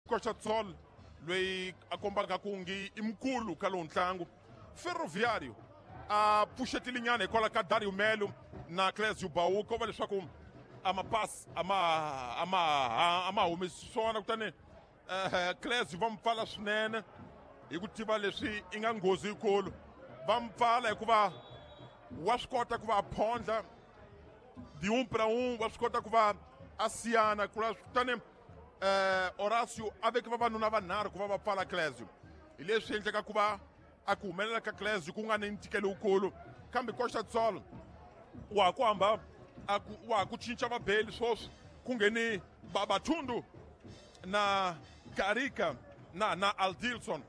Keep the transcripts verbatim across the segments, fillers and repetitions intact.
Costa do Sol loyi a kombaka ku ngi i mukulu ka lowu ntlangu. Ferroviário a pfuxetile nyana hikwalaho ka Dario Melo na Clésio Baú, ko va leswaku a mapasi a ma a ma a ma humesi swona, kutani eh Clésio va mu pfala swinene hi ku tiva leswi i nga nghozi yikulu. Va mu pfala hikuva wa swi kota ku va a phondla de um para um, wa swi kota ku va a siyana, kutani eh Horácio a veke vavanuna vanharhu ku va va pfala Clésio. Hi leswi endleka ku va a ku humelela ka Clésio ku nga ni ntikelo wukulu, kambe Costa do Sol wa ha ku hamba a ku wa ha ku cinca vabeli sweswi, ku ngheni Babatundu na Karika na na Aldilson.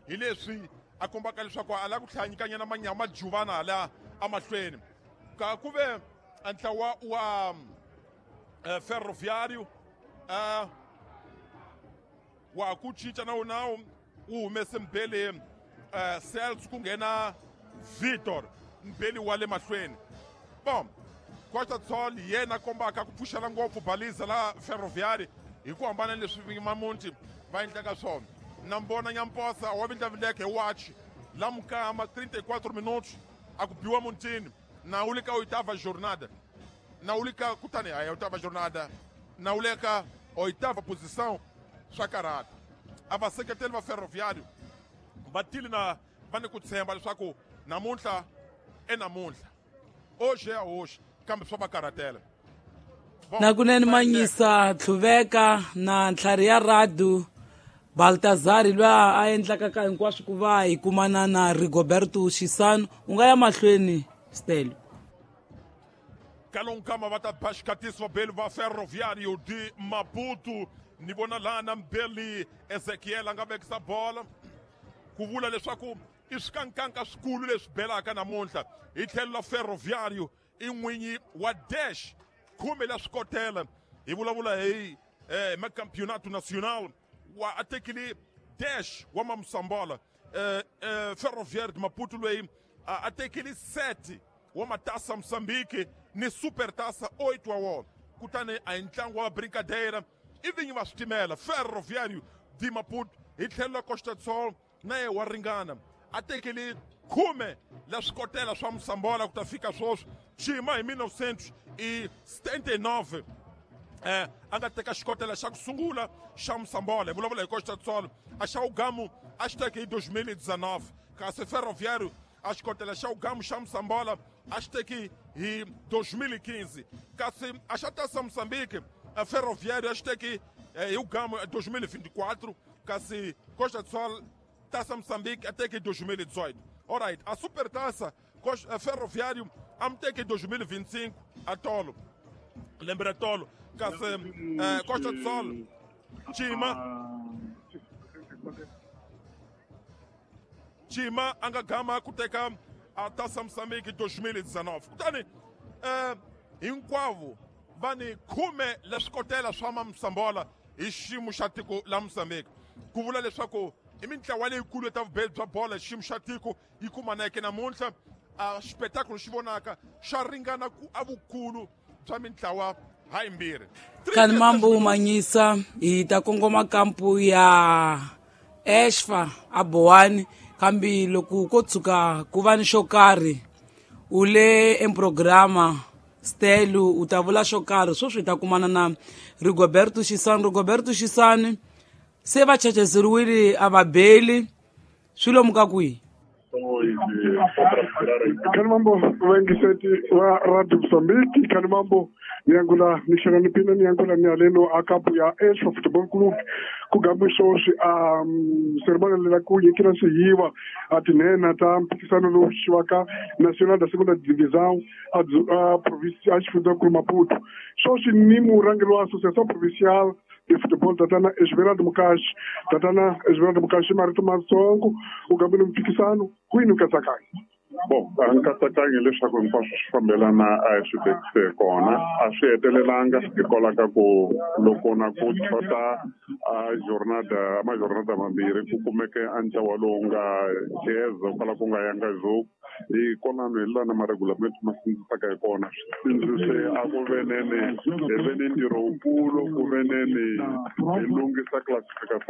Hi leswi a kombaka leswaku a lava ku tlhela nyikanyana manyama juvana hala amahlweni. Ka ku ve ntlawa wa uh, Ferroviário uh, wa ku cinca nawu nawu wu humese mbeli uh, Celso, ku nghena Vitor mbeli wa le mahlweni. Bon, Costa do Sol yena kombaka ku pfuxela ngopfu baliza la Ferroviário hi ku hambana leswi Mamunti va endlaka swona. Na mbona Nyamposa wa vindlavileke hi wachi la mukama trinta e quatro minutos a ku biwa muntini na wu le ka oitava jornada, na wu le ka kutani a oitava jornada na wu le ka oitava posição. Swa karhata a vaseketeli va Ferroviário va tile na va ni ku tshemba leswaku namuntlha e namuntlha hoje a hoje, kambe swa va karhatela. Nakunene Manyisa Tlhuveka na ntlhari ya Radu Baltazari loyi a endlaka ka hinkwaswo ku va hi kumana na Rigoberto Xisano. U nga ya mahlweni Stelo. Kalonkama va ta ba xikatisi vabeli va Ferroviário de Maputo. Ni vona lana mbeli Ezekiel a nga vekisa bola ku vula leswaku i swikankanka swikulu leswi belaka namuntlha hi tlhelo la Ferroviário. I n'winyi wa dash khume la swikotela, hi vulavula hi eh, macampeonato nacional wa a tekile dash wa Mamusambola. eh, eh, Ferroviário de Maputo loyi a tekile sete wa matasa Moçambique ni supertaça oito wa wona, kutani a hi ntlangu wa brincadeira i vinyi va switimela Ferroviário de Maputo. Hi tlhelo la Costa do Sol na ye wa ringana a tekile khume la swikotela swa Moçambola ku ta fika sweswi xima hi mil novecentos e setenta e nove eh a nga teka xikotela xa ku sungula xa Moçambola. Hi vulavula hi Costa do Sol, a xa Ugamu a xi teke hi dois mil e dezenove, kasi Ferroviário a xikotela xa Ugamu xa Moçambola a xi teki hi dois mil e quinze, kasi a xa Taça Moçambique a Ferroviário a xi teki hi Ugamu dois mil e vinte e quatro, kasi Costa do Sol Taça Moçambique a teki dois mil e dezoito. Alright, a Supertaça Ferroviário a me teki dois mil e vinte e cinco a Tolo. Lembra Tolo, kasi eh, Costa do Sol Chima Chima a nga gama ku teka a Taça Moçambique dois mil e dezenove. Kutani eh, hinkwavo va ni khume la swikotela swa Moçambola hi xiyimo xa tiko la Moçambique, ku vula leswaku i mintlawa leyikulu ta vubeli bya bola hi xiyimo xa tiko yi kumaneke namuntlha. A xipetakulu xi vonaka xa ringana ku a vukulu bya mintlawa ha yimbirhi. Kani mambo Manyisa, hi ta kongoma kampu ya Exfa a Bowani, kambe loko ko tshuka ku va ni xo karhi u le emprograma Stelo u ta vula xo karhi sweswi hi ta kumana na Rigoberto Xisani. Rigoberto Xisani se va chachazeriwile a va beli swi lomu ka kwihi? Kani mambo vaingiseti va Radio Mozambique, kani mambo niangula nihlakaniphile niangula nialelo a kampu ya Exfa Football Club ku gambe sweswi a ceremony lela ku nyikela swihiwa a tinhena ta mphikisano lowu xiwaka Nacional da Segunda Divisão a a province a xifundzankulu Maputo. Sweswi ni murhangeri wa Associação Provincial de Futebol tatana Esmeralda Mukashi. Tatana Esmeralda Mukashi, marito matsongo u gambile mphikisano kwini nkatsakanyo? Bom, a nkatsakanyo leswaku hinkwaswo swi fambelana a hi swi vekise kona, a swi hetelelanga hikwalaho ka ku loko na ku xota a jornada majornada mambirhi ku kumeke a ntlawa lowu nga jeza kwala ku nga yanga zoku hi konano hi lana maregulamento ma sindzisaka hi kona. Swi a ku venene hi ve ni ntirho wukulu ku veneni hi lunghisa classification.